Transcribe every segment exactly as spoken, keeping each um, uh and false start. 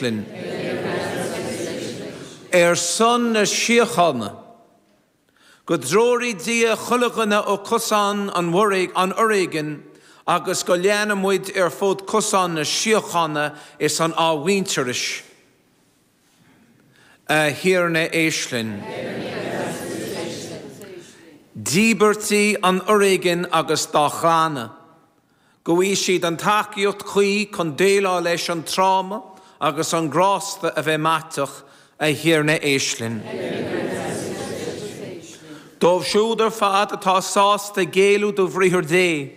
linn. Ar son na síochána, go dtreoraí Dia chuile dhuine ó cosán an an fhoréigin agus go leana muid ar fud cosán na síochána is an athmhuintearais. A Thiarna éist linn. D'íobartaigh an fhoréigin agus dá gclanna, go bhfaighidh siad an tacaíocht chuí chun déileáil leis an tráma agus an grásta a bheith maiteach a Thiarna éist linn. Dóibh siúd ar fad atá sásta géilleadh do bhriathar Dé,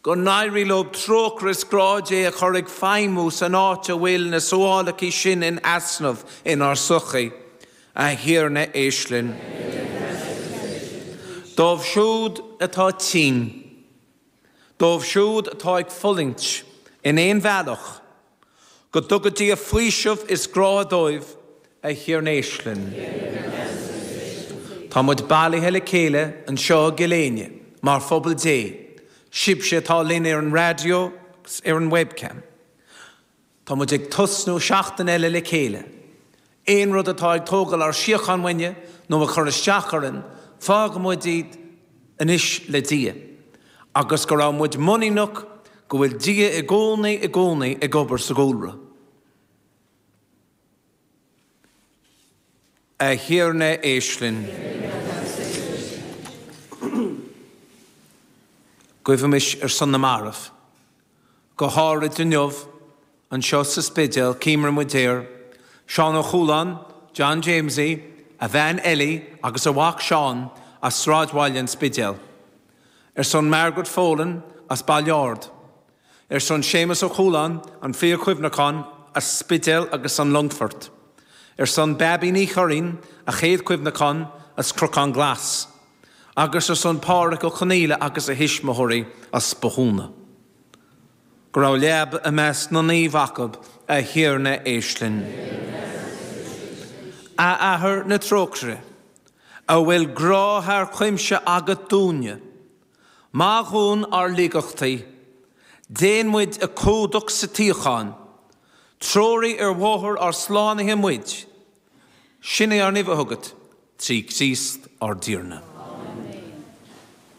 go n-éirí leo trócaire is grá Dé a chur ag feidhmiú san áit a bhfuil na samhlacha sin in easnamh inár sochaí, a Thiarna éist linn. Dóibh siúd atá tinn, Dóibh siúd atá ag fulaingt in aon bhealach, go dtuga Dia faoiseamh is grá dóibh a Thiarna éist linn. Tá muid bailithe le chéile anseo i gCill Éinne mar phobal Dé, sibhse atá linn ar an raidió agus ar an webcam. Tá muid ag tosnú seachtain eile le chéile. Aon rud atá ag tógáil ár síocháin uainne nó a chur isteach orainn, fágfaidh muid iad anois le Dia. Agus go raibh muid muiníneach go bhfuil Dia i gcónaí i gcónaí ag obair sa gcúlra. A Thiarna éist linn. Guímis ar son na marbh. Go háirid inniu anseo sa Spidéal, cuimhníonn muid ar, Seán Ó Cualáin, John Jamesie, a bhean Ellie agus a mhac Seán as Sráidbhaile an Spidéal. Ar son Margaret Folan as Baile Ard. Ar son Séamus Ó Cualáin, an Phríomh-Chuimhneachán as Spidéal agus an Longfort. Ar son Babí Ní Churraoin, a chéad chuimhneachán as Cnocán Glas. Agus ar son Pádraig Ó Conaola agus a thuismitheoirí as Bothúna. Go raibh leaba i measc na naomh acu a Thiarna éist linn. A Athair na trócaire, a bhfuil grá thar cuimse agat dúinne, Maith dúinn ár laigeachtaí, déan muid a chumhdach sa tsíocháin, treoraigh ar bhóthar ár slánaithe muid, sin é ár n-uimh chugat, trí Chríost ár dTiarna.